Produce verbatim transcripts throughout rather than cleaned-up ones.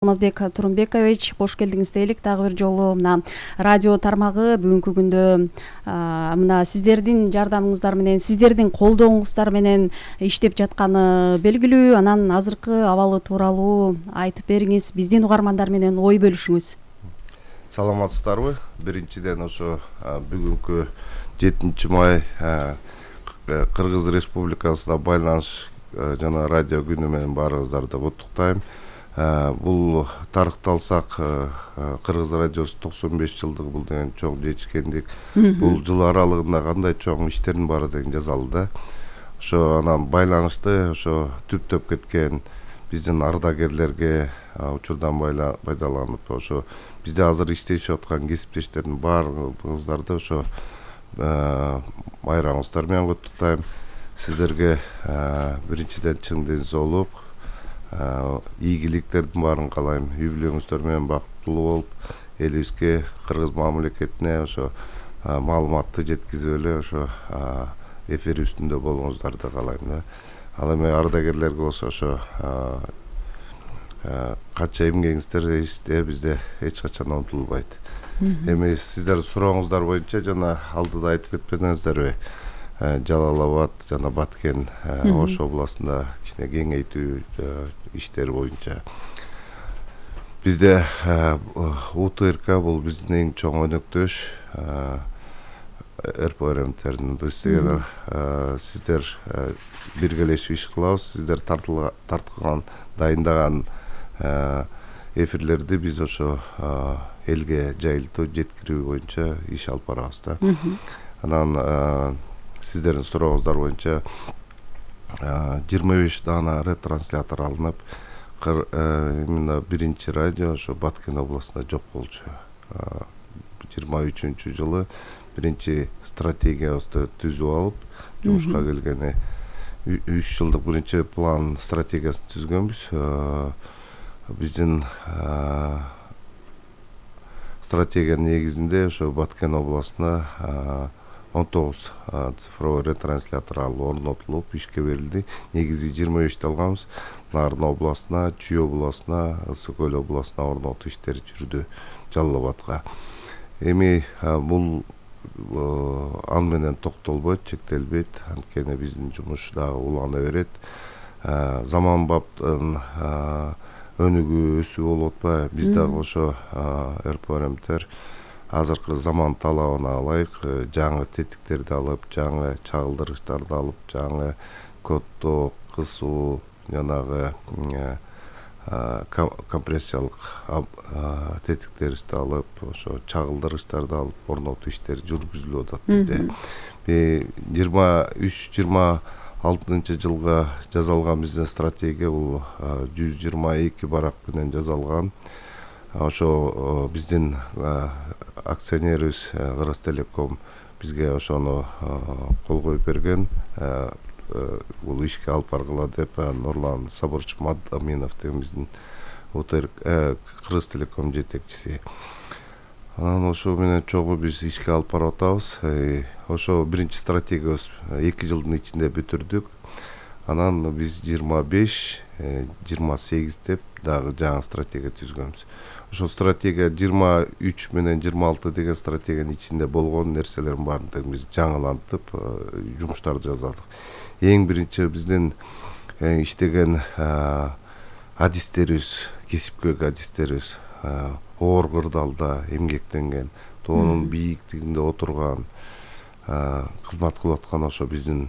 Алмазбек Турунбекович, кош келдиңиз дейлик дагы бир жолу. Мына радио тармагы бүгүнкү күндө мына сиздердин жардамыңыздар менен, сиздердин колдооңуздар менен иштеп жатканы белгилүү. Анан азыркы абалы тууралуу айтып бериңиз, биздин угармандар менен ой бөлүшүңүз. Саламатсыздарбы? Биринчиден ошо бүгүнкү жетинчи май Кыргыз Республикасына байланыш жана радио күнү менен баарыңыздарды куттуктайм. Бул тарыхталсак Кыргыз радиосу токсон беш жылдык, бул деген чоң жетишкендик. Бул жыл аралыгында кандай чоң иштердин баары деген жазалы да. Ошо анан байланышты ошо түптөп кеткен биздин ардагерлерге учурдан пайдаланып, ошо бизде азыр иштешип аткан кесиптештердин баарыңыздарды ошо байрамыңыздар менен куттуктайм. Сиздерге биринчиден чың ден соолук, ийгиликтердин баарын каалайм. Үй бүлөңүздөр менен бактылуу болуп, элибизге, кыргыз мамлекетине ошо маалыматты жеткизип эле ошо эфир үстүндө болуңуздарды каалайм да. Ал эми ардагерлерге болсо ошо канча эмгегиңиздер эсте бизде эч качан унутулбайт. Эми сиздердин сурооңуздар боюнча жана алдыда айтып кетпедиңиздерби? Жалал Абад жана Баткен Ош областында кичине кеңейтүү иштери боюнча бизде УТРК бул биздин эң чоң өнөктөш РПРМтердин. Бизге сиздер биргелешип иш кылабыз. Сиздер тарткан, дайындаган эфирлерди биз ошо элге жайылтуу, жеткирүү боюнча иш алып барабыз да. Анан сиздердин сурооңуздар боюнча жыйырма беш даана ретранслятор алынып, именно биринчи радио ошо Баткен областында жок болчу. жыйырма үчүнчү жылы биринчи стратегиябызды түзүп алып, жумушка келгени үч жылдык биринчи план стратегиясын түзгөнбүз. Биздин стратегиянын негизинде ошо Баткен областына он тогуз цифровой ретранслятор алып орнотулуп ишке берилди. Негизи жыйырма бешти алганбыз. Нарын областына, Чүй областына, Ысык Көл областына орнотуу иштери жүрдү, Жалал Абадка. Эми бул аны менен токтолбойт, чектелбейт. Анткени биздин жумуш дагы улана берет. Заманбаптын өнүгүү, өсүү болуп атпайбы? Биз дагы ошо РПРМтер азыркы заман талабына ылайык жаңы тетиктерди алып, жаңы чагылдыргычтарды алып, жаңы коддоо, кысуу, жанагы компрессиялык тетиктерди алып, ошо чагылдыргычтарды алып орнотуу иштери жүргүзүлүп атат бизде. жыйырма үч жыйырма алтынчы жылга жазалган биздин стратегия бул жүз жыйырма эки барак менен жазалган. Ошо биздин акционерибиз Кыргызтелеком бизге ошону кол коюп берген. Бул ишке алып баргыла деп Нурлан Сабырчы Мадаминов деген биздин Кыргызтелеком жетекчиси. Анан ошо менен чогуу биз ишке алып барып атабыз. Ошо биринчи стратегиябыз эки жылдын ичинде бүтүрдүк. Анан биз жыйырма беш жыйырма сегиз деп дагы жаңы стратегия түзгөнбүз. Ошо стратегия жыйырма үч менен жыйырма алты деген стратегиянын ичинде болгон нерселердин баарын биз жаңылантып жумуштарды жаздык. Эң биринчи биздин иштеген адистерибиз, кесипкөй адистерибиз оор кырдаалда эмгектенген, тоонун бийиктигинде отурган, кызмат кылып аткан ошо биздин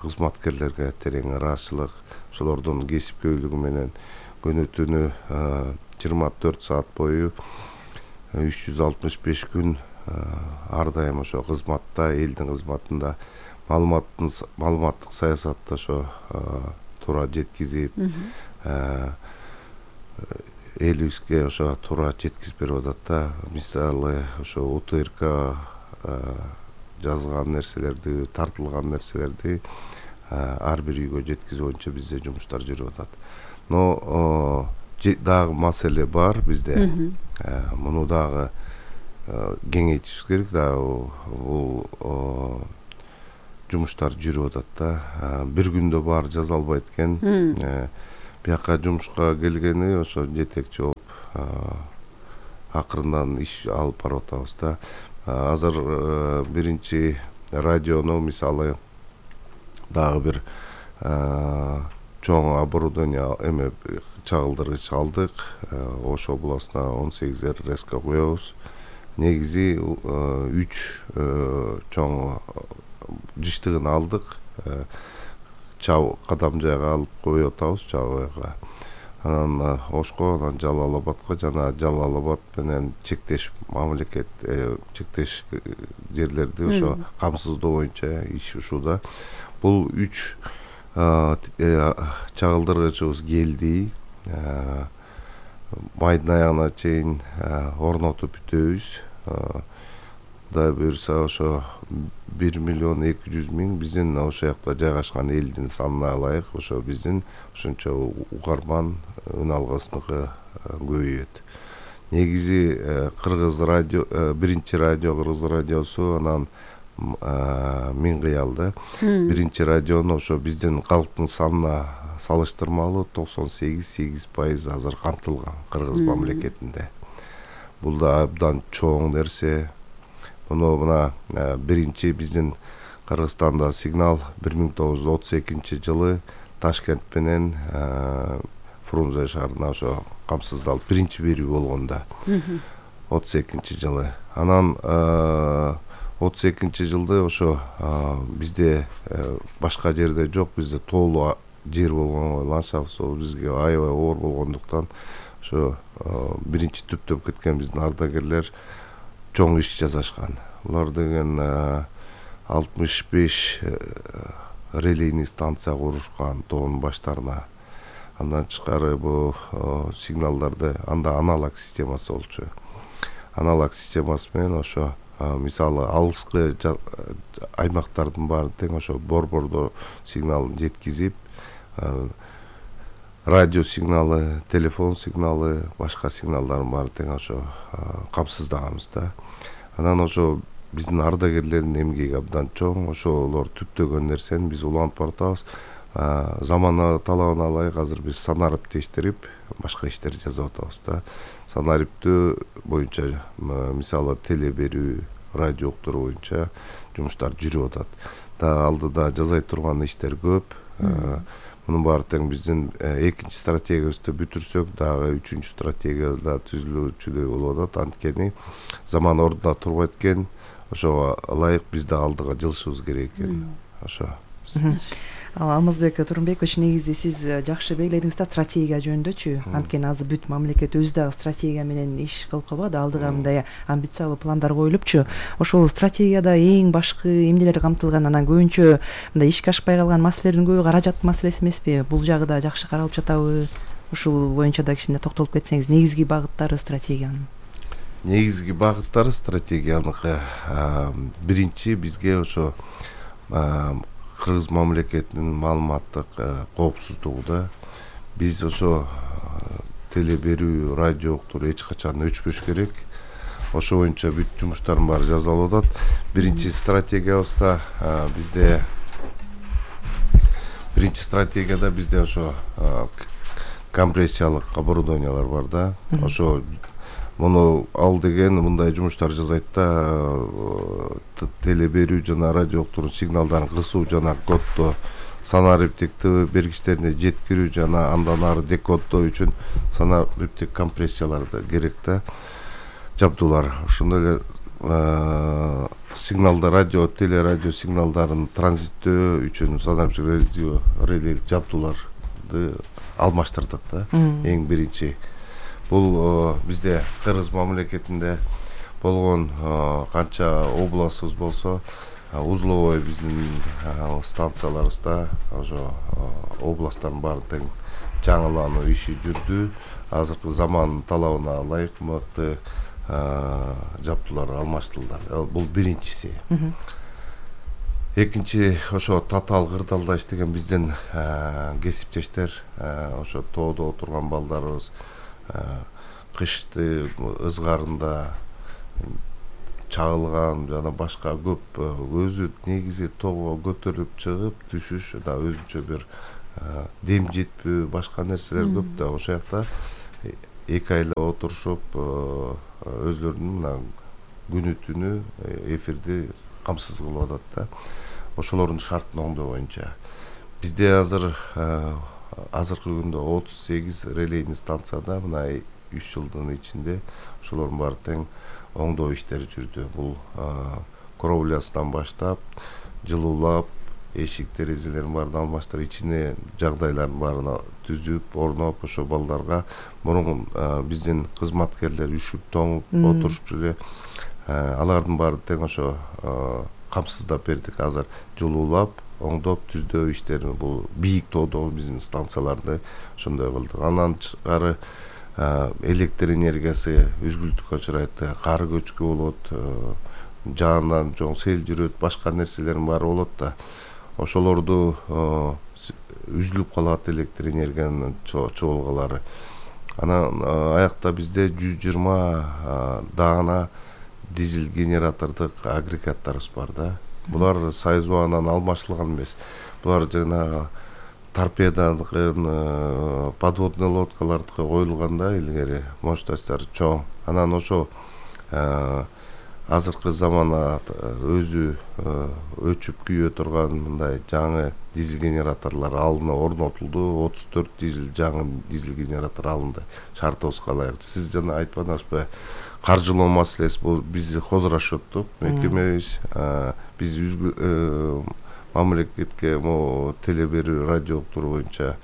кызматкерлерге терең ыраазычылык, ошолордун кесипкөйлүгү менен күнү түнү жыйырма төрт саат бою үч жүз алтымыш беш күн ар дайым ошо кызматта, элдин кызматында, маалыматтын маалыматтык саясатты ошо туура жеткизип, элибизге ошо туура жеткизип берип атат да. Мисалы ошо УТРК жазган нерселерди, тартылган нерселерди ар бир үйгө жеткизүү боюнча бизде жумуштар жүрүп атат. Но дагы маселе бар бизде. Муну дагы кеңейтиш керек. Дагы бул жумуштар жүрүп атат да. Бир күндө баары жаза албайт экен. бияка жумушка келгени ошо жетекчи болуп акырындан иш алып барып атабыз да. Азыр биринчи радиону мисалы дагы бир чоң оборудование эме чагылдыргыч алдык. Ош областына он сегиз эр эс ка коебуз. Негизи үч чоң жыштыгын алдык. Чаб кадам жайга алып коюп атабыз, Чабыга. Анан Ошко, анан Жалал Абадка жана Жалал Абад менен чектеш мамлекет, чектеш жерлерди ошо камсыздоо боюнча иш ушуда. Бул үч чагылдыргычыбыз келди. Майдын аягына чейин орнотуп бүтөбүз. Кудай буюрса ошо бир миллион эки жүз миң биздин ошол жакта жайгашкан элдин санына ылайык ошо биздин ошончо угарман үн алгысыныгы көбөйөт. Негизи Кыргыз радио, биринчи радио Кыргыз радиосу, анан Миң кыялды. Биринчи радиону ошо биздин калктын санына салыштырмалуу токсон сегиз сегиз пайыз азыр камтылган Кыргыз мамлекетинде. Бул да абдан чоң нерсе. Муну мына биринчи биздин Кыргызстанда сигнал бир миң тогуз жүз отуз экинчи жылы Ташкент менен Фрунзе шаарына ошо камсыздалып биринчи берүү болгондо отуз экинчи жылы. Анан отуз экинчи жылды ошо бизде башка жерде жок, бизде тоолуу жер болгонго ландшафт бизге аябай оор болгондуктан ошо биринчи түптөп кеткен биздин ардагерлер чоң иш жасашкан. Булар деген алтымыш беш релейный станция курушкан тоонун баштарына. Андан тышкары бул сигналдарды анда аналог системасы болчу. Аналог системасы менен ошо мисалы алыскы аймактардын баары тең ошо борбордо сигнал жеткизип, радио сигналы, телефон сигналы, башка сигналдардын баары тең ошо камсыздаганбыз да. Анан ошо биздин ардагерлердин эмгеги абдан чоң, ошолор түптөгөн нерсени биз улантып баратабыз. Замана талабына ылайык азыр биз санариптештирип башка иштер жасап атабыз да. Санариптөө боюнча мисалы теле берүү, радио уктуруу боюнча жумуштар жүрүп атат. Да алдыда жасай турган иштер көп. Мунун баары тең биздин экинчи стратегиябызды бүтүрсөк, дагы үчүнчү стратегия да түзүлүүчүдөй болуп атат. Анткени заман ордуна турбайт экен, ошого ылайык биз да алдыга жылышыбыз керек экен. Ошо. Алмазбек Турунбекович, негизи сиз жакшы белгиледиңиз да стратегия жөнүндөчү. Анткени азыр бүт мамлекет өзү дагы стратегия менен иш кылып калбады, алдыга мындай амбициялуу пландар коюлупчу. Ошол стратегияда эң башкы эмнелер камтылган? Анан көбүнчө мындай ишке ашпай калган маселелердин көбү каражат маселеси эмеспи? Бул жагы да жакшы каралып жатабы? Ушул боюнча да кичине токтолуп кетсеңиз, негизги багыттары стратегиянын. Негизги багыттары стратегияныкы биринчи бизге ошо Кыргыз мамлекетинин маалыматтык коопсуздугуда биз ошо теле берүү, радио уктуруу эч качан өчпөш керек. Ошо боюнча бүт жумуштардын баары жасалып атат. Биринчи стратегиябызда бизде биринчи стратегияда бизде ошо компрессиялык оборудованиялар бар да. Ошо муну ал деген мындай жумуштар жасайт да, теле берүү жана радио уктуруу сигналдарын кысуу жана коддоо, санариптиктүү бергичтерине жеткирүү жана андан ары декоддоо үчүн санариптик компрессияларды керек да, жабдуулар. Ошондой эле сигналда радио, теле радио сигналдарын транзиттөө үчүн санариптик радио реле жабдууларды алмаштырдык да. Эң биринчи бул бизде Кыргыз мамлекетинде болгон канча областыбыз болсо, узловой биздин станцияларыбызда ошо областтардын баары тең жаңылануу иши жүрдү. Азыркы заман талабына ылайык мыкты жабдуулар алмаштырылды. Бул биринчиси. Экинчи ошо татаал кырдаалда иштеген биздин кесиптештер, ошо тоодо отурган балдарыбыз кышты ызгарында чагылган жана башка көп өзү негизи тоого көтөрүлүп чыгып түшүш да өзүнчө бир дем жетпөө башка нерселер көп да. Ошол жакта эки айла отурушуп өздөрүнүн мына күнү түнү эфирди камсыз кылып атат да. Ошолордун шартын оңдоо боюнча бизде азыр азыркы күндө отуз сегиз релейный станцияда мына үч жылдын ичинде ошолордун баары тең оңдоо иштери жүрдү. Бул кровлясынан баштап жылуулап эшик терезелерин баарын алмаштырып ичине жагдайлардын баарын түзүп орноп ошо балдарга мурун биздин кызматкерлер үшүп тоңуп отурушчу эле алардын баарын тең ошо камсыздап бердик. Азыр жылуулап оңдоп түздөө иштерин бул бийик тоодогу биздин станцияларды ошондой кылдык. Андан тышкары электр энергиясы үзгүлтүккө учурайт, кар көчкү болот, жаандан жоң сел жүрөт, башка нерселердин баары болот да. Ошолорду үзүлүп калат электр энергиянын чогулгалары. Анан аякта бизде жүз жыйырма даана дизель генератордук агрегаттарыбыз бар да. Булар сайыз убагынан алмаштырылган эмес. Булар жана торпедадын, подводный лодкалардыкы коюлганда илгери мощностьтары чоң. Анан ошо азыркы замана өзү өчүп күйө турган мындай жаңы дизель генераторлор алына орнотулду. отуз төрт дизель жаңы дизель генератор алынды. Шартыбызга ылайык. Сиз жана айтпадыңызбы? Каржылоо маселеси бул бизди хозурашыптык. Мекемебиз биз мамлекетке могу теле берүү радио уктуруу боюнча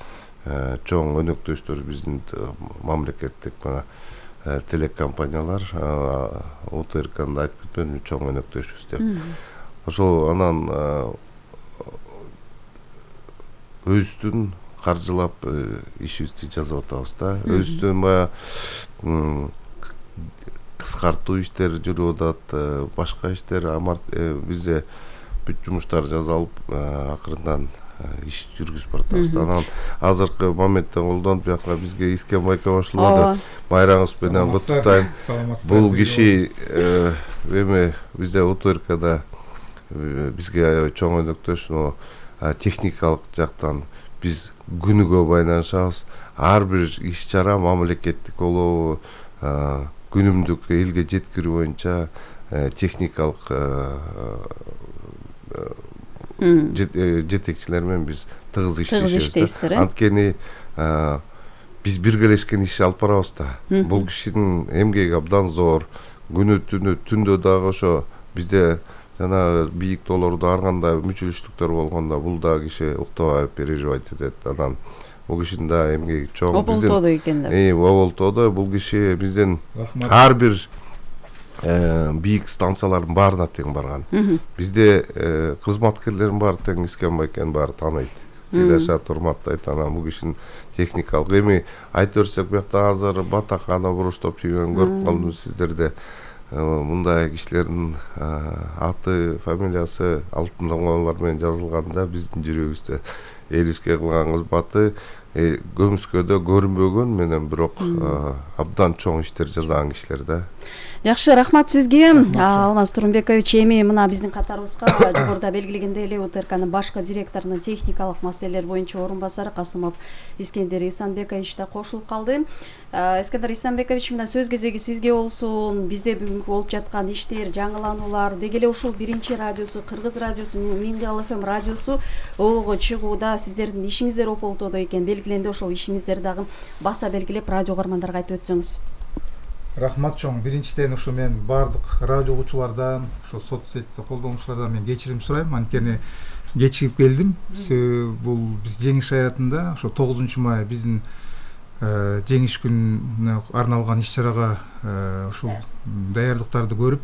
чоң өнөктөштөр биздин мамлекеттик мына телекомпаниялар О Т Р К'ны айтып кетпедимби, чоң өнөктөшүбүз деп. Ошол анан өзүбүздүн каржылап ишибизди жасап атабыз да. Өзүбүздүн баягы кыскартуу иштери жүрүп атат, башка иштер бизде бүт жумуштар жасалып, акырындан иш жүргүзүп баратабыз. Анан азыркы моментте колдонуп бияка бизге Искенбай кошулуп, байраңыбыз менен куттуктайм. Бул киши эми бизде О Т Р К'да бизге аябай чоң өнөктөш, техникалык жактан биз күнүгө байланышабыз. Ар бир иш чара мамлекеттик болобу, күнүмдүк элге жеткирүү боюнча техникалык жетекчилер менен биз тыгыз иштешебиз. Анткени биз биргелешкен иш алып барабыз да. Бул кишинин эмгеги абдан зор. Күнү түнү түндө дагы ошо бизде жана бийик тоолордо ар кандай мүчүлүштүктөр болгондо бул да киши уктабай переживать этет. Анан бул кишинин да эмгеги чоң. Оболтоодо экен да. Э, Оболтоодо бул киши биздин ар бир бийик станциялардын баарына тең барган. Бизде кызматкерлердин баары тең Искенбай экенин баары тааныйт. Сыйлашат, урматтайт. Анан бул кишинин техникалык эми айтып берсек, буякта азыр батакана буруштоп жүргөн көрүп калдым сиздерде. Мындай кишилердин аты, фамилиясы алтын таңбалар менен жазылганда биздин жүрөгүбүздө элибизге кылган кызматы көмүскөдө көрүнбөгөн менен бирок абдан чоң иштер жасаган кишилер да. Жакшы, рахмат сизге. Алмаз Турумбекович, эми мына биздин катарыбызга жогоруда белгилегендей эле О Т Р К'нын башкы директорунун техникалык маселелер боюнча орун басары Касымов Искендер Исанбекович да кошулуп калды. Искендер Исанбекович, мына сөз кезеги сизге болсун. Бизде бүгүнкү болуп жаткан иштер, жаңылануулар, деги эле ушул биринчи радиосу, Кыргыз радиосу, Миңгал Эф Эм радиосу оого чыгууда сиздердин ишиңиздер Ополтоодо экен белгиленди. Ошол ишиңиздер дагы баса белгилеп радио каармандарга айтып өтсөңүз. Рахмат чоң. Биринчиден ушу мен бардык радио угуучулардан, ошо соцсетти колдонуучулардан мен кечирим сурайм. Анткени кечигип келдим. Бул биз жеңиш аятында ошо тогузунчу май биздин жеңиш күнүнө арналган иш-чарага ушул даярдыктарды көрүп,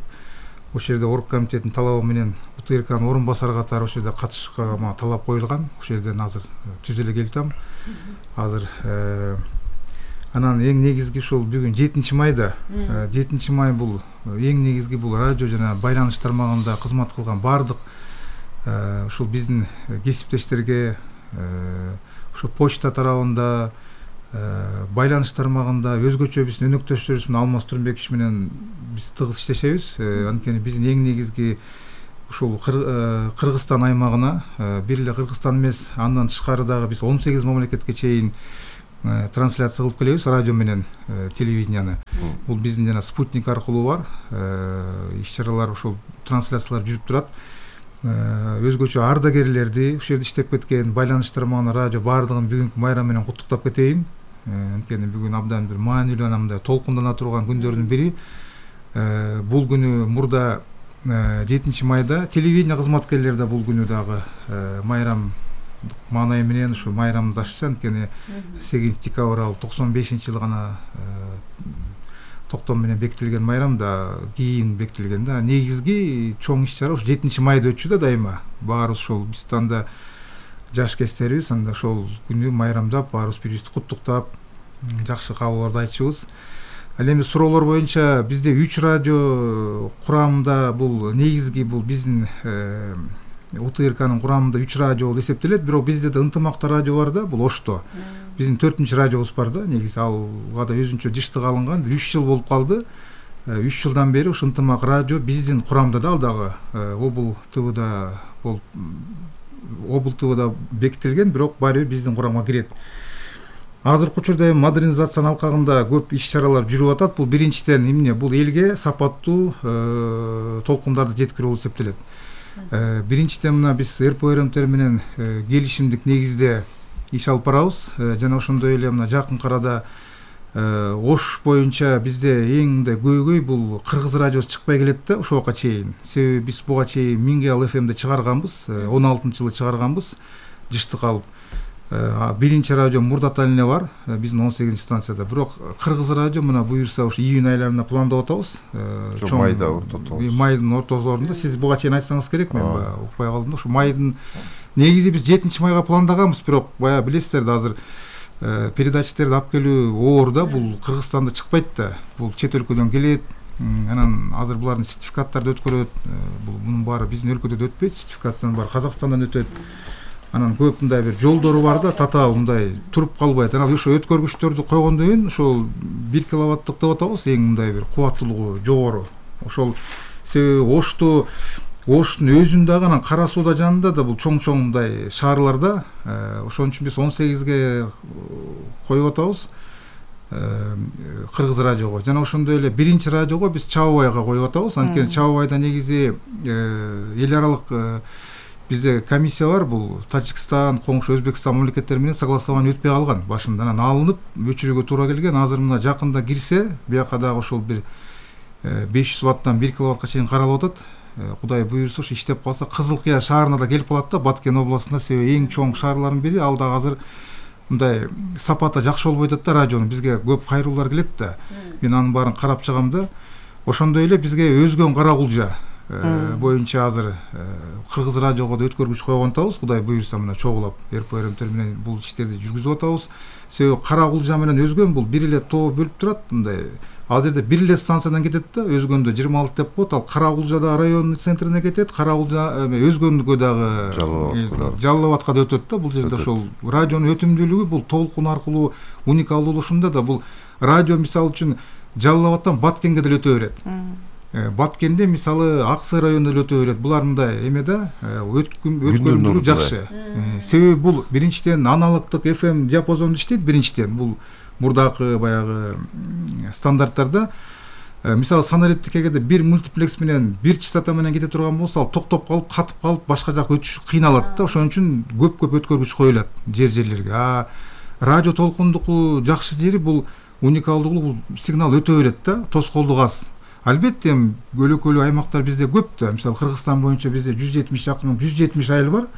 ошол жерде орг комитетинин талабы менен О Т Р К'нын орун басары катары ошол жерде катышышка талап коюлган. Ошол жерден азыр түзүлө келатам. Азыр анан эң негизги ушул бүгүн жетинчи майда, жетинчи май бул эң негизги бул радио жана байланыш тармагында кызмат кылган бардык ушул биздин кесиптештерге, ушул почта тарабында, байланыш тармагында өзгөчө биздин өнөктөштөрүбүз менен Алмаз Турумбекович менен биз тыгыз иштешебиз. Анткени биздин эң негизги ушул Кыргызстан аймагына, бир эле Кыргызстан эмес, андан тышкары дагы биз он сегиз мамлекетке чейин трансляция кылып келебиз, радио менен телевиденияны. Бул биздин жана спутник аркылуу бар иш-чаралар, ошол трансляциялар жүрүп турат. Өзгөчө ардагерлерди, ушул жерде иштеп кеткен байланыш тармагына радио баардыгын бүгүнкү майрам менен куттуктап кетейин. Анткени бүгүн абдан бир маанилүү, анамдай толкундана турган күндөрдүн бири. Бул күнү мурда жетинчи майда телевидение кызматкерлери да бул күнү дагы майрам маанай менен ушу майрамдашчу. Анткени сегизинчи декабрь ал токсон бешинчи жылы гана токтом менен бекитилген майрам да кийин бекитилген да. Негизги чоң иш-чара ушу жетинчи майда өтчү да дайыма. Баарыбыз ошол биз анда жаш кездерибиз, анда ошол күнү майрамдап, баарыбыз бири-бирибизди куттуктап, жакшы каалоолорду айтчубуз. Ал эми суроолор боюнча бизде үч радио курамында, бул негизги бул биздин У Т Р К'нын курамында үч радио болуп эсептелет, бирок бизде да ынтымакта радио бар да, бул Ошто. Биздин төртүнчү радиобуз бар да, негизи алга да өзүнчө жыштык алынган, үч жыл болуп калды. үч жылдан бери ушу ынтымак радио биздин курамда да, ал дагы Обл Т Вда болуп Обл Т Вда бекитилген, бирок баары бир биздин курамга кирет. Азыркы учурда модернизациянын алкагында көп иш-чаралар жүрүп атат. Бул биринчиден эмне, бул элге сапаттуу толкундарды жеткирүү болуп эсептелет. Биринчиден мына биз Р П Р М Т менен келишимдик негизде иш алып барабыз. Жана ошондой эле мына жакын арада Ош боюнча бизде эң мындай көйгөй бул кыргыз радиосу чыкпай келет да ошого чейин. Себеби биз буга чейин Мингел Ф М'де чыгарганбыз, он алтынчы жылы чыгарганбыз, жыштык алып. Биринчи радио Мурдатал эле бар, биздин он сегизинчи станцияда. Бирок кыргыз радио мына буюрса ушу июнь айларына пландап атабыз. Чоң майда ортотобуз. Майдын ортосунда. Сиз буга чейин айтсаңыз керек, мен баягы укпай калдым да. Ушу майдын негизи биз жетинчи майга пландаганбыз, бирок баягы билесиздер да, азыр передачаларды алып келүү оор да, бул Кыргызстанда чыкпайт да. Бул чет өлкөдөн келет. Анан азыр булардын сертификаттарды өткөрөт. Бул мунун баары биздин өлкөдө да өтпөйт, сертификациянын баары Казакстандан өтөт. Анан көп мындай бир жолдору бар да, татаал мындай туруп калбайт. Анан ошо өткөргүчтөрдү койгондон кийин ошол бир киловаттык деп атабыз, эң мындай бир кубаттуулугу жогору. Ошол себеби Ошту Оштун өзүн дагы анан Кара Сууда жанында да бул чоң-чоң мындай шаарларда, ошон үчүн биз он сегизге коюп атабыз кыргыз радиого. Жана ошондой эле биринчи радиого биз Чабабайга коюп атабыз. Анткени Чабабайда негизи эл аралык бизде комиссия бар, бул Тажикстан, коңшу Өзбекстан мамлекеттери менен согласование өтпөй калган. Башында анан алынып өчүрүүгө туура келген. Азыр мына жакында кирсе, бияка дагы ошол бир беш жүз ваттан бир киловаттка чейин каралып атат. Кудай буйрса ушу иштеп калса, Кызылкыя шаарына да келип калат да, Баткен областында. Себеби эң чоң шаарлардын бири, ал дагы азыр мындай сапаты жакшы болбой атат да радионун. Бизге көп кайруулар келет да. Мен анын баарын карап чыгам да. Ошондой эле бизге өзгөн Кара Кулжа боюнча азыр кыргыз радиого да өткөргүч койгон атабыз. Кудай буйрса мына чогулап Р П Р М Т менен бул иштерди жүргүзүп атабыз. Себеби Кара Кулжа менен өзгөн бул бир эле тоо бөлүп турат. Мындай ал жерде бир эле станциядан кетет да, өзгөндө жыйырма алты деп коет. Ал Кара Кулжа да районный центрине кетет, Кара Кулжа өзгөндүгө дагы Жалал Абадка да өтөт да. Бул жерде ошол радионун өтүмдүүлүгү бул толкун аркылуу уникалдуулушунда да бул радио мисалы үчүн Жалал Абадтан Баткенге деле өтө берет. Баткенде мисалы Аксы районунда деле өтө берет. Булар мындай эме да, өткөрүлүшү жакшы. Себеби бул биринчиден аналогдук Ф М диапазонду иштейт, биринчиден бул мурдакы баягы стандарттарда мисалы санариптикеде бир мультиплекс менен бир частота менен кете турган болсо, ал токтоп калып, катып калып, башка жака өтүш кыйналат да. Ошон үчүн көп-көп өткөргүч коюлат жер-жерлерге. А радио толкундуку жакшы жери бул уникалдуулугу, сигнал өтө берет да, тоскоолдук аз. Албетте көлөкөлүү аймактар бизде көп да. Мисалы Кыргызстан боюнча бизде жүз жетимиш жакын жүз жетимиш айыл бар.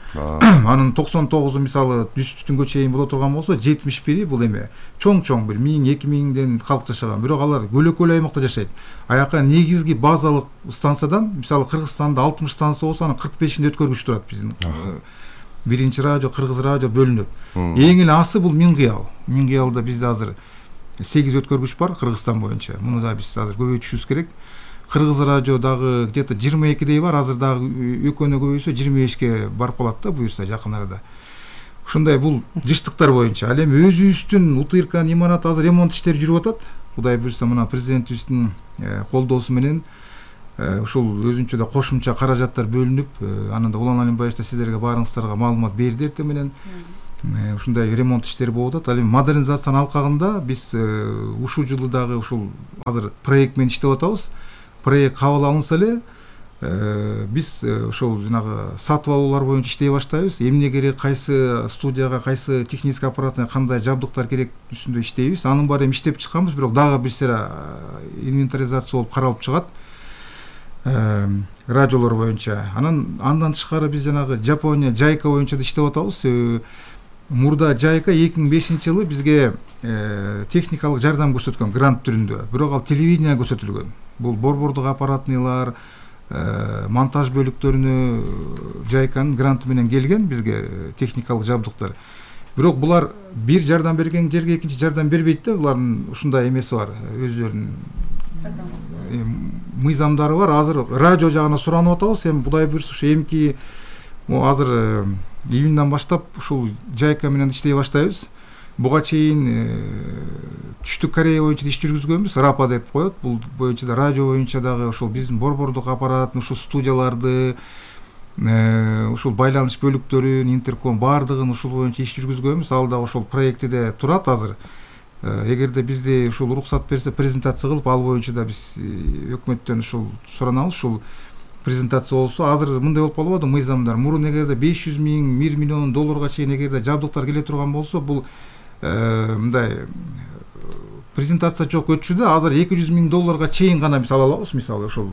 Анын токсон тогузу мисалы түштүнгө чейин боло турган болсо, жетимиш бири бул эме чоң-чоң бир миң эки миңден калк жашаган. Бирок алар көлөкөлүү аймакта жашайт. Аяка негизги базалык станциядан мисалы Кыргызстанда алтымыш станция болсо, анын кырк бешинде өткөргүч турат биздин. Биринчи радио, кыргыз радио бөлүнөт. Эң эле асы бул Мингел. Мингелде бизде азыр сегиз өткөргүч бар Кыргызстан боюнча. Муну да биз азыр көбөйтүшүбүз керек. Кыргыз радио дагы где-то жыйырма экидей бар. Азыр дагы экөөнө көбөйсө жыйырма бешке барып калат да, буюрса жакын арада. Ушундай бул жыштыктар боюнча. Ал эми өзүбүздүн У Т Р К'нын имараты азыр ремонт иштери жүрүп атат. Кудай буйрса мына президентибиздин колдоосу менен ушул өзүнчө да кошумча каражаттар бөлүнүп, анан да Улан Алимбаевич да сиздерге баарыңыздарга маалымат берди эртең менен. Ушундай ремонт иштери болуп атат. Ал эми модернизациянын алкагында биз ушул жылы дагы ушул азыр проект менен иштеп атабыз. Проект кабыл алынса эле биз ошол жанагы сатып алуулар боюнча иштей баштайбыз. Эмне керек, кайсы студияга, кайсы технический аппаратына кандай жабдыктар керек үстүндө иштейбиз. Анын баары эми иштеп чыкканбыз, бирок дагы бир сыйра инвентаризация болуп каралып чыгат радиолор боюнча. Анан андан тышкары биз жанагы Жапония Жайка боюнча да иштеп атабыз. Мурда Жайка эки миң бешинчи жылы бизге техникалык жардам көрсөткөн грант түрүндө, бирок ал телевидение көрсөтүлгөн. Бул борбордук аппаратнылар, монтаж бөлүктөрүнө Жайканын гранты менен келген бизге техникалык жабдыктар. Бирок булар бир жардам берген жерге экинчи жардам бербейт да, булардын ушундай эмеси бар, өзлөрүнүн мыйзамдары бар. Азыр радио жагына суранып атабыз. Эми Кудай буйрса ушу эмки азыр июндан баштап ушул Жайка менен иштей баштайбыз. Буга чейин Түштүк Корея боюнча иш жүргүзгөнбүз, Рапа деп коет. Бул боюнча да радио боюнча дагы ошол биздин борбордук аппараттын ушул студияларды, ушул байланыш бөлүктөрүн, интерком баардыгын ушул боюнча иш жүргүзгөнбүз. Ал да ошол проектиде турат азыр. Эгерде бизди ушул уруксат берсе, презентация кылып, ал боюнча да биз өкмөттөн ушул суранабыз. Ушул презентация болсо, азыр мындай болуп калбады мыйзамдар. Мурун эгерде беш жүз миң, бир миллион долларга чейин эгерде жабдыктар келе турган болсо, бул мындай презентация жок өтчү да. Азыр эки жүз миң долларга чейин гана биз ала алабыз, мисалы ошол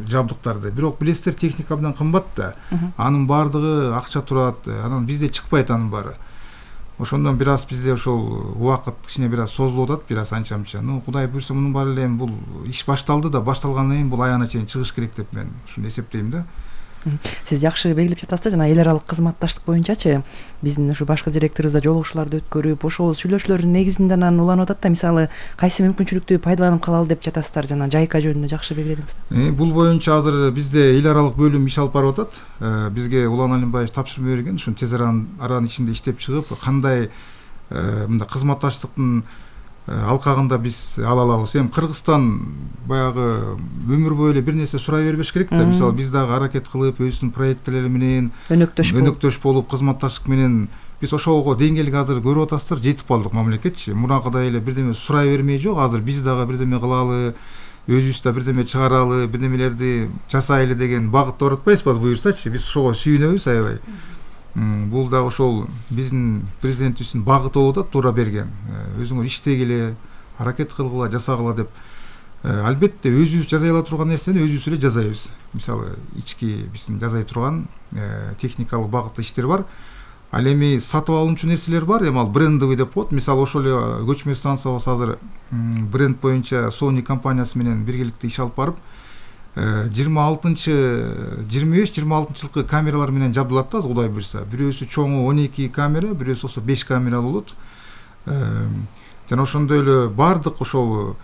жабдыктарды. Бирок билесиздер, техника абдан кымбат да. Анын баардыгы акча турат. Анан бизде чыкпайт анын баары. Ошондон бир аз бизде ошол убакыт кичине бир аз созулуп атат, бир аз анча-мынча. Ну, Кудай буйрса, мунун баары эле бул иш башталды да, башталгандан кийин бул аягына чейин чыгыш керек деп мен ушуну эсептейм да. Сиз жакшы белгилеп жатасыз, жана эл аралык кызматташтык боюнчачы биздин ушу башкы директорубузда жолугушууларды өткөрүп, ошол сүйлөшүүлөрдүн негизинде анан уланып атат да. Мисалы, кайсы мүмкүнчүлүктү пайдаланып калалы деп жатасыздар, жана Жайка жөнүндө жакшы белгиледиңиз. Бул боюнча азыр бизде эл аралык бөлүм иш алып барып атат. Бизге Улан Алимбаевич тапшырма берген, ушуну тез аранын ичинде иштеп чыгып, кандай мындай кызматташтыктын алкагында биз ала алабыз. Эми Кыргызстан баягы өмүр бою эле бир нерсе сурай бербеш керек да. Мисалы, биз дагы аракет кылып, өзүбүздүн проекттери менен өнөктөш өнөктөш болуп, кызматташтык менен биз ошого деңгээлге азыр көрүп атасыздар, жетип калдык мамлекетчи. Мурункыдай эле бирдеме сурай бермей жок. Азыр биз дагы бирдеме кылалы, өзүбүз да бирдеме чыгаралы, бирдемелерди жасайлы деген багытта баратпайбызбы буюрсачы. Биз ошого сүйүнөбүз аябай. Бул да ошол биздин президентибиздин багыты болуп атат, туура берген. Өзүңөр иштегиле, аракет кылгыла, жасагыла деп. Албетте өзүбүз жасай ала турган нерсени өзүбүз эле жасайбыз. Мисалы, ички биздин жасай турган техникалык багытта иштер бар. Ал эми сатып алынчу нерселер бар, эми ал брендовый деп коет. Мисалы, ошол эле көчмө станция болсо азыр бренд боюнча Sony компаниясы менен биргеликте иш алып барып, жыйырма алтынчы жыйырма беш жыйырма алтынчы жылкы камералар менен жабдылат да, Кудай буйрса. Бирөөсү чоңу он эки камера, бирөөсү болсо беш камера болот. Жана ошондой эле бардык ошол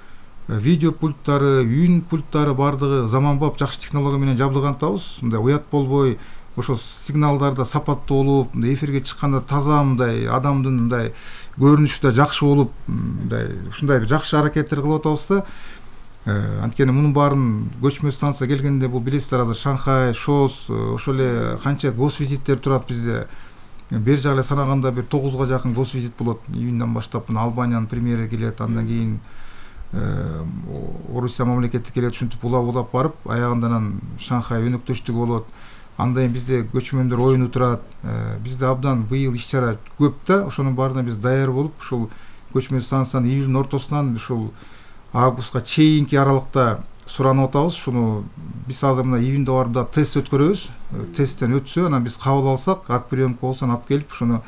видео пульттары, үн пульттары бардыгы заманбап жакшы технология менен жабдылган атабыз. Мындай уят болбой, ошол сигналдарда сапаттуу болуп, мындай эфирге чыкканда таза, мындай адамдын мындай көрүнүшү да жакшы болуп, мындай ушундай бир жакшы аракеттер кылып атабыз да. Анткени мунун баарын көчмө станция келгенде, бул билесиздер, азыр Шанхай, Шос, ошол эле канча госвизиттер турат бизде. Бер жагы эле санаганда бир тогузга жакын госвизит болот. Июндан баштап мына Албаниянын премьери келет, андан кийин Орусия мамлекети келет, ушинтип улап-улап барып, аягында анан Шанхай өнөктөштүгү болот. Андан кийин бизде көчмөндөр оюну турат. Бизде абдан быйыл иш-чара көп да. Ошонун баарына биз даяр болуп, ушул көчмө станциянын июлдун ортосунан ушул августка чейинки аралыкта суранып атабыз. Шуну биз азыр мына июнда барып да тест өткөрөбүз. Тесттен өтсө, анан биз кабыл алсак, ат приемка болсо алып келип, ушуну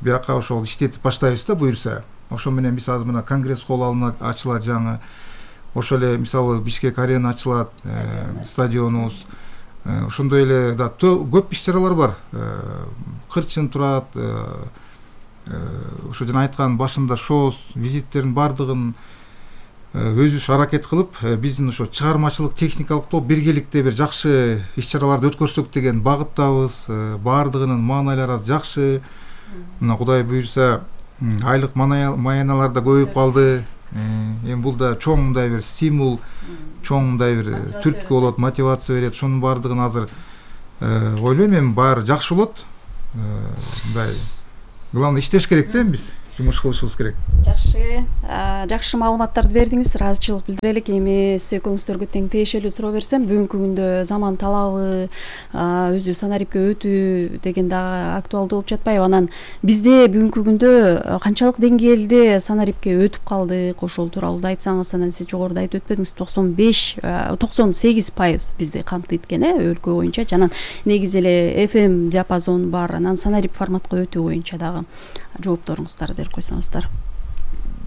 бияка ошол иштетип баштайбыз да буюрса. Ошо менен биз азыр мына конгресс холл ачылат жаңы. Ошол эле мисалы Бишкек арена ачылат, стадионубуз. Ошондой эле да көп иш-чаралар бар. Кырчын турат. Ошо жана айткан башында шоу визиттердин бардыгын өзүбүз аракет кылып, биздин ошо чыгармачылык техникалык топ биргеликте бир жакшы иш-чараларды өткөрсөк деген багыттабыз. Бардыгынын маанайлары жакшы. Мына Кудай буйрса, айлык маяналар да көбөйүп калды. эми бул да чоң мындай бир стимул, чоң мындай бир түрткү болот, мотивация берет. Шунун баардыгын азыр ойлойм эми баары жакшы болот. Мындай главное иштеш керек да, биз жумуш кылышыбыз керек. Жакшы, жакшы маалыматтарды бердиңиз, ыраазычылык билдирелик. Эми сиз экөөңүздөргө тең тиешелүү суроо берсем, бүгүнкү күндө заман талабы өзү санарипке өтүү деген дагы актуалдуу болуп жатпайбы? Анан бизде бүгүнкү күндө канчалык деңгээлде санарипке өтүп калдык, ошол тууралуу да айтсаңыз. Анан сиз жогоруда айтып өтпөдүңүз, токсон беш токсон сегиз пайыз бизди камтыйт экен, э, өлкө боюнча. Анан негизи эле эф эм диапазон бар. Анан санарип форматка өтүү боюнча дагы жоопторуңуздарды берип койсоңуздар.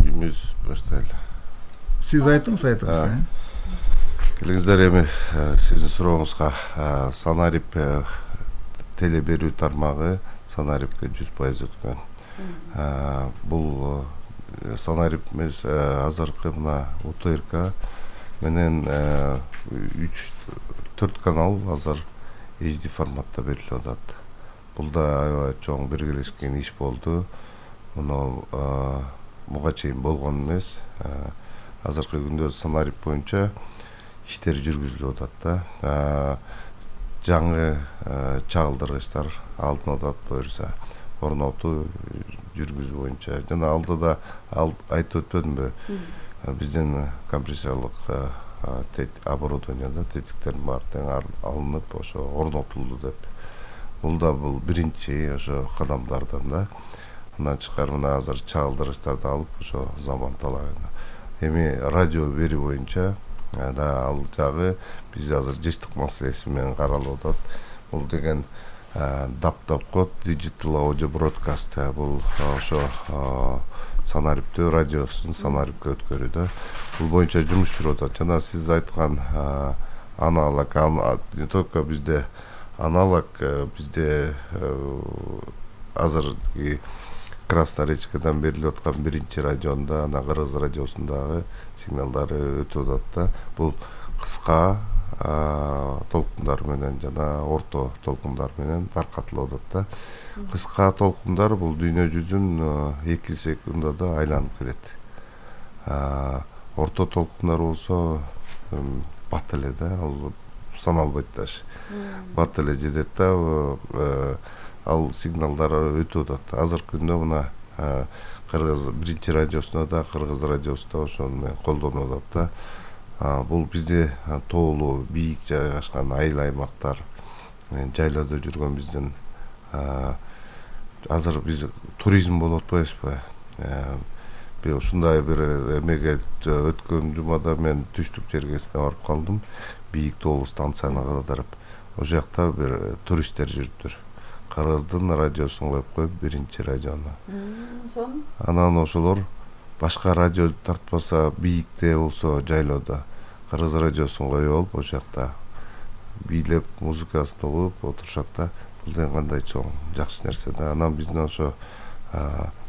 Кимиз баштайлы? Сиз айтыңыз, айтыңыз. Келиңиздер, эми сиздин сурооңузга санарип теле берүү тармагы санарипке жүз пайыз өткөн. Бул санарип эмес, азыркы мына У Т Р К менен үч төрт канал азыр эйч ди форматта берилип атат. Бул да аябай чоң биргелешкен иш болду. Муну буга чейин болгон эмес. Азыркы күндө санарип боюнча иштер жүргүзүлүп атат да. Жаңы чагылдыргычтар алынып атат, буюрса орнотуу жүргүзүү боюнча. Жана алдыда айтып өтпөдүмбү? Биздин компрессорлук оборудованияда тетиктердин баары тең алынып, ошо орнотулду деп. Бул да бул биринчи ошо кадамдардан да. Андан тышкары мына азыр чагылдыргычтарды алып, ошо заман талабына. Эми радио берүү боюнча да ал жагы биз азыр жыштык маселеси менен каралып атат. Бул деген даптап код digital audio broadcast. Бул ошо санариптөө радиосун санарипке өткөрүүдө. Бул боюнча жумуш жүрүп атат. Жана сиз айткан аналог, не только бизде аналог, бизде азыркы Красноречкадан берилип аткан биринчи радионда, ана Кыргыз радиосундагы сигналдары өтүп атат да. Бул кыска толкундар менен жана орто толкундар менен таркатылып атат да. Кыска толкундар бул дүйнө жүзүн эки секундада айланып келет. Орто толкундар болсо бат эле да, ал саналбайт даш. Бат эле жетет да, ал сигналдар өтүп атат. Азыркы күндө мына Кыргыз биринчи радиосунда да, Кыргыз радиосунда ошону менен колдонуп атат да. Бул бизде тоолуу, бийик жайгашкан айыл аймактар, жайлоодо жүргөн биздин азыр биз туризм болуп атпайбызбы? Би ушундай бир эмеге өткөн жумада мен түштүк жергесине барып калдым. Бийик тоолуу станцияны кыдырып, ошол жакта бир туристтер жүрүптүр. Кыргыздын радиосун коюп коюп биринчи радиону. Анан ошолор башка радио тартпаса, бийикте болсо жайлоодо Кыргыз радиосун коюп алып, ошол жакта бийлеп, музыкасын угуп отурушат да. Бул деген кандай чоң жакшы нерсе да. Анан биздин ошо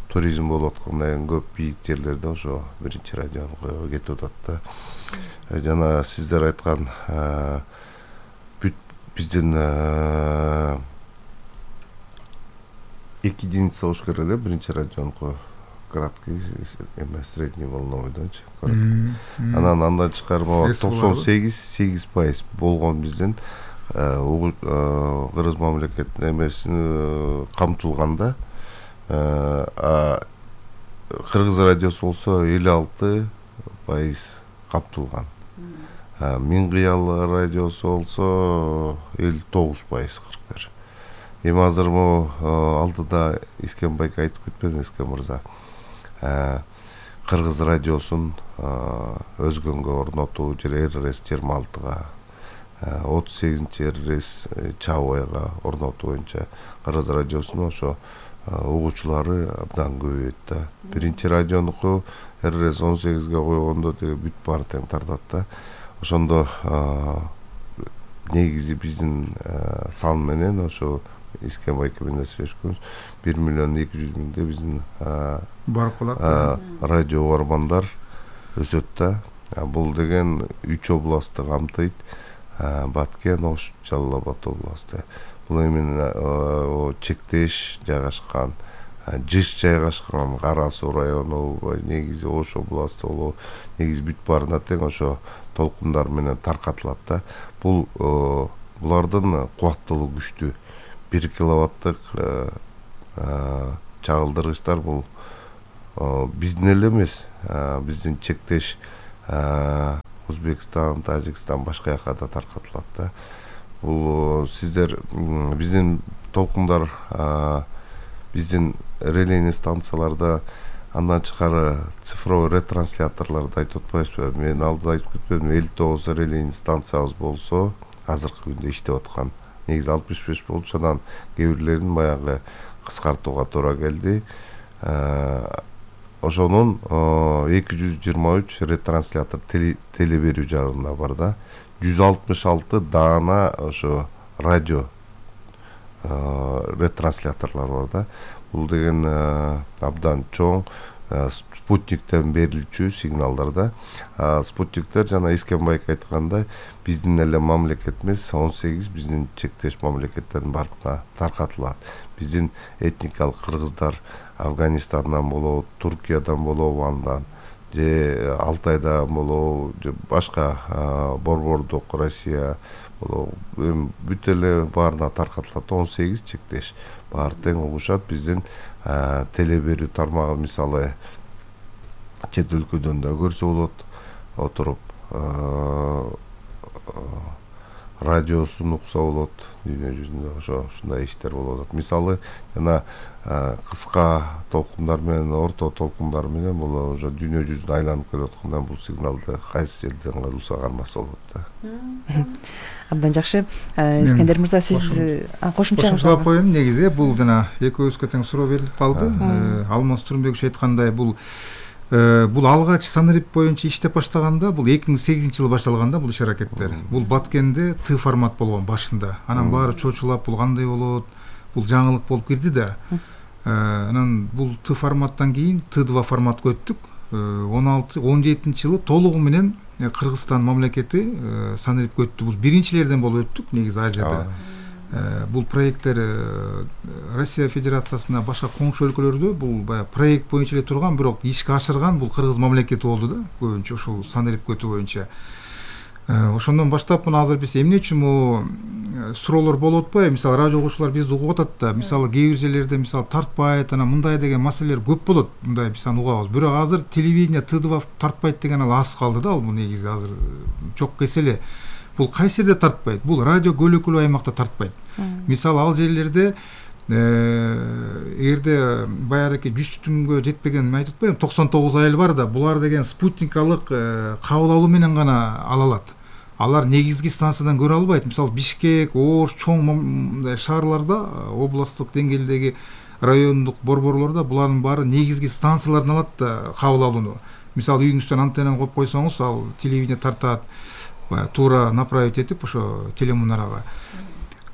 туризм болуп аткандай көп бийик жерлерде ошо биринчи радиону коюп кетип атат да. Жана сиздер айткан бүт биздин эки единица болуш керек эле биринчи радиону коюп, краткий эме средний волновойдончу. Анан андан тышкары могу токсон сегиз сегиз пайыз болгон биздин Кыргыз мамлекетинин эмесин камтылганда, Кыргыз радиосу болсо элүү алты пайыз камтылган. Миң кыял радиосу болсо элүү тогуз пайыз кырк бир. Эми азыр могу алдыда Искенбайк айтып кетпеди, Искен мырза. Кыргыз радиосун өзгөнгө орнотуу жер эр эр эс жыйырма алтыга, отуз сегизинчи эр эр эс Чабайга орнотуу боюнча Кыргыз радиосунун ошо угуучулары абдан көбөйөт да. Биринчи радионуку эр эр эс он сегизге койгондо теги бүт баары тең тартат да. Ошондо негизи биздин сан менен ошо Искенбайк менен сүйлөшкөнбүз, бир миллион эки жүз миңде биздин барып калат. Радио бармандар өсөт да. Бул деген үч областты камтыйт. Баткен, Ош, Жалал Абад областы. Бул эми чектеш жайгашкан жыш жайгашкан Кара Суу району негизи Ош областы болобу негизи бүт баарына тең ошо толкундар менен таркатылат да. Бул булардын кубаттуулугу күчтүү. бир киловаттык чагылдыргычтар бул биздин эле эмес, биздин чектеш Өзбекстан, Тажикстан, башка жакка да таркатылат да. Бул сиздер биздин толкундар биздин релейный станцияларда андан тышкары цифровой ретрансляторлорду айтып атпайбызбы? Мен алдыда айтып кетпедимби, элүү тогуз релейный станциябыз болсо, азыркы күндө иштеп аткан. Негизи алтымыш беш болчу, анан кээ бирлерин баягы кыскартууга туура келди. Ошонун эки жүз жыйырма үч ретранслятор теле берүү жагында бар да. жүз алтымыш алты даана ошо радио ретрансляторлор бар да. Бул деген абдан чоң спутниктен берилчү сигналдар да. Спутниктер жана Эскенбайк айткандай биздин эле мамлекет эмес, он сегиз биздин чектеш мамлекеттердин баарына таркатылат. Биздин этникалык кыргыздар Афганистандан болобу, Туркиядан болобу, андан же Алтайдан болобу, же башка борбордук Россия болобу, бүт эле баарына таркатылат. он сегиз чектеш баары тең угушат. Биздин теле берүү тармагы мисалы чет өлкөдөн да көрсө болот, отуруп радиосун укса болот, дүйнө жүзүндө ошо ушундай иштер болуп атат. Мисалы жана кыска толкундар менен, орто толкундар менен бул уже дүйнө жүзүн айланып келип атканда бул сигналды кайсы жерден кылса кармаса болот да. Абдан жакшы. Искендер мырза, сиз кошумчаңыз кошумчалап коеюн. Негизи бул жана экөөбүзгө тең суроо берилип калды. Алмаз Турунбекович айткандай бул бул алгач Санарип боюнча иштеп баштаганда бул эки миң сегизинчи жылы башталган да бул иш аракеттер. Бул Баткенде Т формат болгон башында. Анан баары чочулап бул кандай болот, бул жаңылык болуп кирди да. Анан бул Т форматтан кийин Т два форматка өттүк. он алты он жетинчи жылы толугу менен Кыргызстан мамлекети Санарипке өттү. Бул биринчилерден болуп өттүк негизи Азияда. Бул проекттер Россия Федерациясына башка коңшу өлкөлөрдө бул баягы проект боюнча эле турган, бирок ишке ашырган бул Кыргыз мамлекети болду да, көбүнчө ушул Санарипке өтүү боюнча. Ошондон баштап мына азыр биз эмне үчүн могу суроолор болуп атпайбы? Мисалы радио угуучулар бизди угуп атат да, мисалы кээ бир жерлерде мисалы тартпайт, анан мындай деген маселелер көп болот. Мындай биз аны угабыз. Бирок азыр телевидение Т два тартпайт деген ал аз калды да, ал бул негизи азыр жок кесе эле. Бул кайсы жерде тартпайт? Бул радио көлөкөлүү аймакта тартпайт. Мисалы ал жерлерде эгерде баягы жүз түнгө жетпеген, мен айтып атпайбы, токсон тогуз айыл бар да, булар деген спутникалык кабыл алуу менен гана ала алат. Алар негизги станциядан көрө албайт. Мисалы Бишкек, Ош, чоң мындай шаарларда, областтык деңгээлдеги райондук борборлордо булардын баары негизги станциялардан алат да кабыл алууну. Мисалы үйүңүздөн антеннаны коюп койсоңуз, ал телевидение тартат, туура направить этип ошо телемунарага.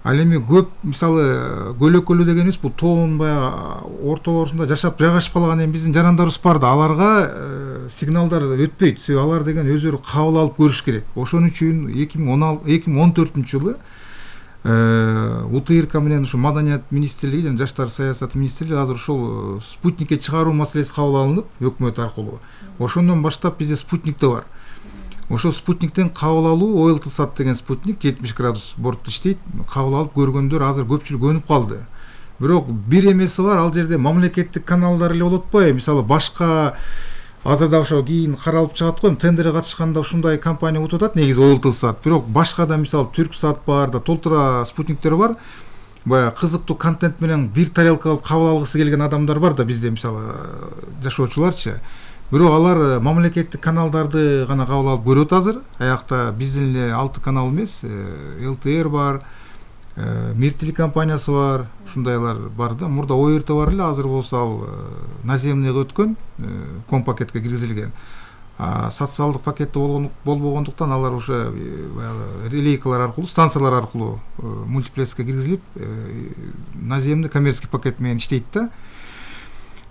Ал эми көп мисалы көлөкөлүү дегенибиз бул тоонун баягы орто-орусунда жашап жайгашып калган эми биздин жарандарыбыз бар да, аларга сигналдар өтпөйт. Себеби алар деген өздөрү кабыл алып көрүш керек. Ошон үчүн эки миң он төртүнчү жылы УТИРК менен ушу Маданият министрлиги жана Жаштар саясаты министрлиги азыр ушул спутникке чыгаруу маселеси кабыл алынып өкмөт аркылуу. Ошондон баштап бизде спутник да бар. Ошо спутниктен кабыл алуу Ойлтсат деген спутник жетимиш градус бортто иштейт. Кабыл алып көргөндөр азыр көпчүлүк өнүп калды. Бирок бир эмеси бар, ал жерде мамлекеттик каналдар эле болуп атпайбы? Мисалы башка азырда ошо кийин каралып чыгат го, тендерге катышканда ушундай компания утуп атат, негизи Ойлтсат. Бирок башка да мисалы Түрксат бар да, толтура спутниктер бар. Баягы кызыктуу контент менен бир тарелка алып кабыл алгысы келген адамдар бар да бизде, мисалы жашоочуларчы. Бирок алар мамлекеттик каналдарды гана кабыл алып көрөт азыр. Аякта биздин эле алты канал эмес, Л Т Р бар, Мир телекомпаниясы бар, ушундайлар бар да. Мурда О Р Т бар эле, азыр болсо ал наземныйга өткөн, ком пакетке киргизилген. А социалдык пакетте болбогондуктан алар уже баягы релейкалар аркылуу, станциялар аркылуу мультиплекске киргизилип, наземный коммерческий пакет менен иштейт да.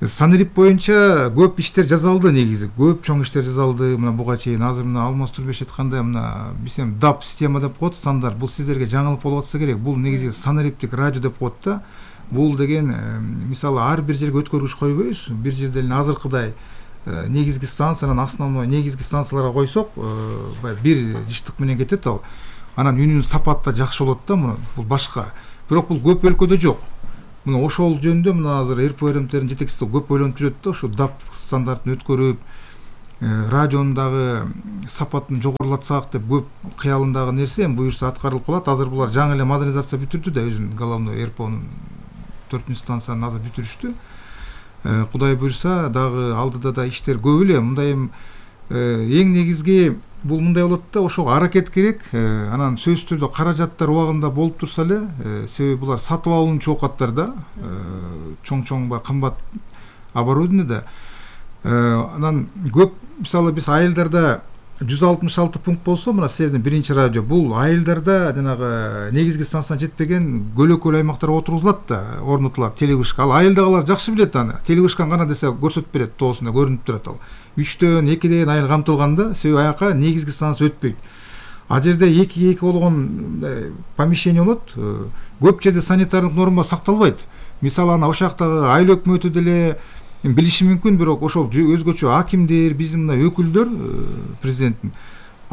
Санарип боюнча көп иштер жазалды негизи, көп чоң иштер жазалды. Мына буга чейин азыр мына Алмаз Турунбекович айткандай, мына биз эми ДАП система деп коет, стандарт. Бул сиздерге жаңылык болуп атса керек. Бул негизи Санариптик радио деп коет да. бул деген мисалы ар бир жерге өткөргүч койбойбуз, бир жерде эле азыркыдай негизги станциянын основной негизги станцияларга койсок баягы бир жыштык менен кетет ал, анан үнүнүн сапаты да жакшы болот да. Муну бул башка, бирок бул көп өлкөдө жок. Мына ошол жөнүндө мына азыр эр пэ эр эмтердин жетекчиси көп ойлонуп жүрөт да, ошо дап стандартын өткөрүп радионун дагы сапатын жогорулатсак деп көп кыялындагы нерсе эми буюрса аткарылып калат. Азыр булар жаңы эле модернизация бүтүрдү да, өзүнүн головной эр пэ онун төртүнчү станцияны азыр бүтүрүштү. Кудай буюрса дагы алдыда да иштер көп эле. Мындай эми эң негизги бул мындай болот да, ошого аракет керек. Анан сөзсүз түрдө каражаттар убагында болуп турса эле, себеби булар сатып алуунчу оокаттар да, чоң-чоң ба кымбат оборудование да. Анан көп мисалы биз айылдарда жүз алтымыш алты пункт болсо, мына силердин биринчи радио, бул айылдарда жанагы негизги станцияга жетпеген көлөкөл аймактарга отургузулат да, орнотулат телевышка. Ал айылдагылар жакшы билет аны. Телевышканы кана десе көрсөтүп берет, тоосунда көрүнүп турат ал. үчтөн экиден айыл камтылганда, себеби аяка негизги станция өтпөйт. А жерде экиге эки болгон помещение болот. Көп жерде санитардык норма сакталбайт. Мисалы ана ошактагы айыл өкмөтү деле билиши мүмкүн, бирок ошол өзгөчө акимдер, биздин мына өкүлдөр, президенттин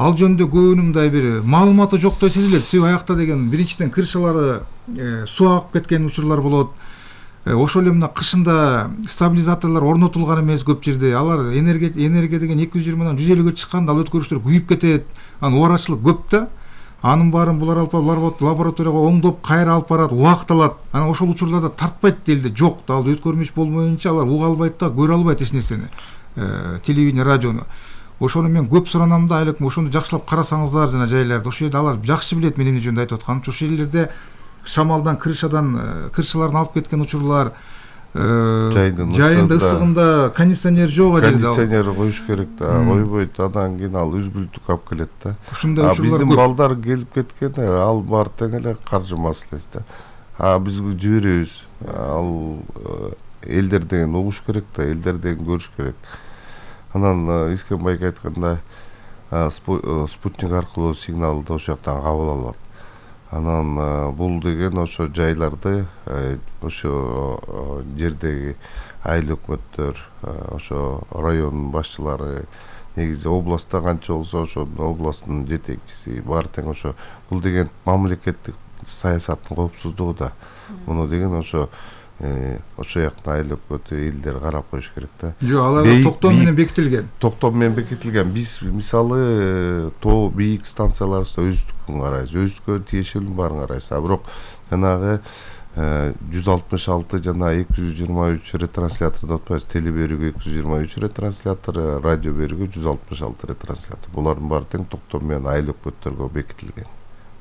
ал жөнүндө көбүнүн мындай бир маалыматы жоктой сезилет. Себеби аякта деген биринчиден крышалары суу агып кеткен учурлар болот. Ошол эле мына кышында стабилизаторлор орнотулган эмес көп жерде. Алар энергия энергия деген эки жүз жыйырмадан жүз элүүгө чыкканда ал өткөрүчтөр күйүп кетет. Анан убарачылык көп да. Анын баарын булар алып лабораторияга оңдоп кайра алып барат, убакыт алат. Анан ошол учурларда тартпайт делде, жок да, ал өткөрмүш болмоюнча алар уга албайт да, көрө албайт эч нерсени, телевидение, радиону. Ошону мен көп суранам да, айлык ошону жакшылап карасаңыздар жана жайларды. Ошол жерде алар жакшы билет мен эмне жөнүндө айтып атканымчы. Ошол жерлерде шамалдан, крышадан, крышаларын алып кеткен учурлар, жайында ысыгында кондиционер жок жерде. Кондиционер коюш керек да, койбойт. Андан кийин ал үзгүлтүк алып келет да. А биздин балдар келип кеткен, ал бар тең эле каржы маселеси да. А биз жиберебиз. Ал элдер деген угуш керек да, элдер деген көрүш керек. Анан Искенбайга айтканда спутник аркылуу сигналды ошол жактан кабыл алат. Анан бул деген ошо жайларды, ошо жердеги айыл өкмөттөр, ошо районун башчылары, негизи областта канча болсо ошо областтын жетекчиси бар тең ошо. Бул деген мамлекеттик саясаттын коопсуздугу да. Муну деген ошо ошо жактын айыл өкмөтү, элдер карап коюш керек да. Жок, алар токтом менен бекитилген. Токтом менен бекитилген. Биз мисалы тоо бийик станцияларыбызда өздүкүн карайбыз, өзгө тиешелүүнүн баарын карайбыз. А бирок жанагы жүз алтымыш алты жана эки жүз жыйырма үч ретрансляторду отпайбыз. Теле берүүгө эки жүз жыйырма үч ретранслятор, радио берүүгө жүз алтымыш алты ретранслятор. Булардын баары тең токтом менен айыл өкмөттөргө бекитилген.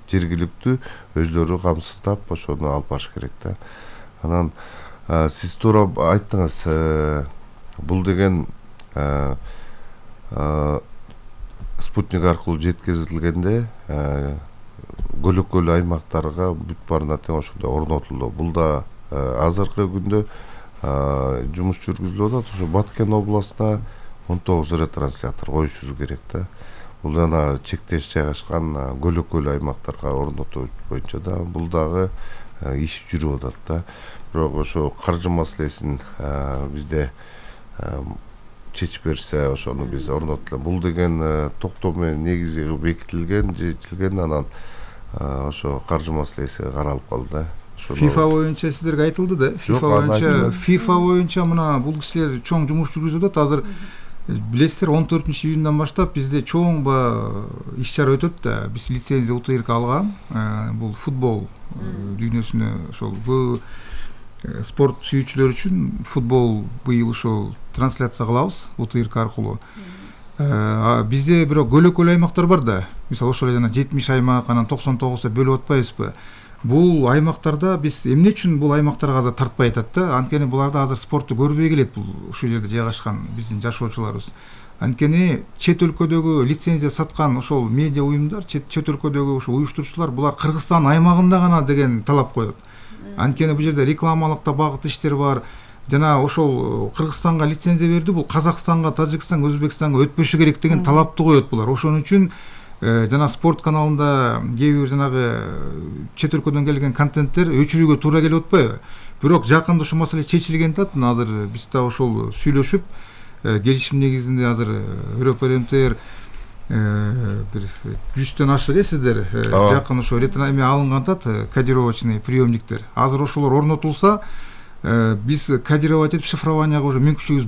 Жергиликтүү өздөрү камсыздап ошону алып барыш керек да. Анан сиз туура айттыңыз, бул деген спутник аркылуу жеткизилгенде көлөкөл аймактарга бүт баарына тең ошондой орнотулду. Бул да азыркы күндө жумуш жүргүзүлүп атат. Ошо Баткен областына он тогуз ретранслятор коюшубуз керек да. Бул жана чектеш жайгашкан көлөкөл аймактарга орнотуу боюнча да. Бул дагы иш жүрүп атат да. Бирок ошо каржы маселесин бизде чечип берсе, ошону биз орнотулат. Бул деген токтом менен негизи бекитилген, жетилген, анан ошо каржы маселеси каралып калды да. FIFA боюнча сиздерге айтылды да. FIFA боюнча, FIFA боюнча мына бул кишилер чоң жумуш жүргүзүп атат. Азыр билесиздер, он төртүнчү июндан баштап бизде чоң ба иш чара өтөт да. Биз лицензия УТИРК алган. Бул футбол дүйнөсүнө ошол бул спорт сүйүүчүлөр үчүн футбол быйыл ошол трансляция кылабыз УТИРК аркылуу. Бизде бирок көлөкөл аймактар бар да. Мисалы ошол жана жетимиш аймак, анан токсон тогузда бөлүп атпайбызбы? Бул аймактарда биз эмне үчүн бул аймактарга азыр тартпай атат да? Анткени буларда азыр спорту көрбөй келет, бул ушул жерде жайгашкан биздин жашоочуларыбыз. Анткени чет өлкөдөгү лицензия саткан ошол медиа уюмдар, чет өлкөдөгү ошо уюштуруучулар булар Кыргызстан аймагында гана деген талап коет. Анткени бул жерде рекламалык да багыт иштер бар. Жана ошол Кыргызстанга лицензия берди, бул Казакстанга, Тажикстанга, Өзбекстанга өтпөшү керек деген талапты коет булар. Ошон үчүн жана спорт каналында кээ бир жанагы чет өлкөдөн келген контенттер өчүрүүгө туура келип атпайбы? Бирок жакында ушул маселе чечилген да, азыр биз да ошол сүйлөшүп келишим негизинде азыр РПРМТР бир жүздөн ашык э сиздер жакын ошо эме алынган да, кодировочный приемниктер. Азыр ошолор орнотулса, биз кодировать этип шифрованияга уже мүмкүнчүлүгүбүз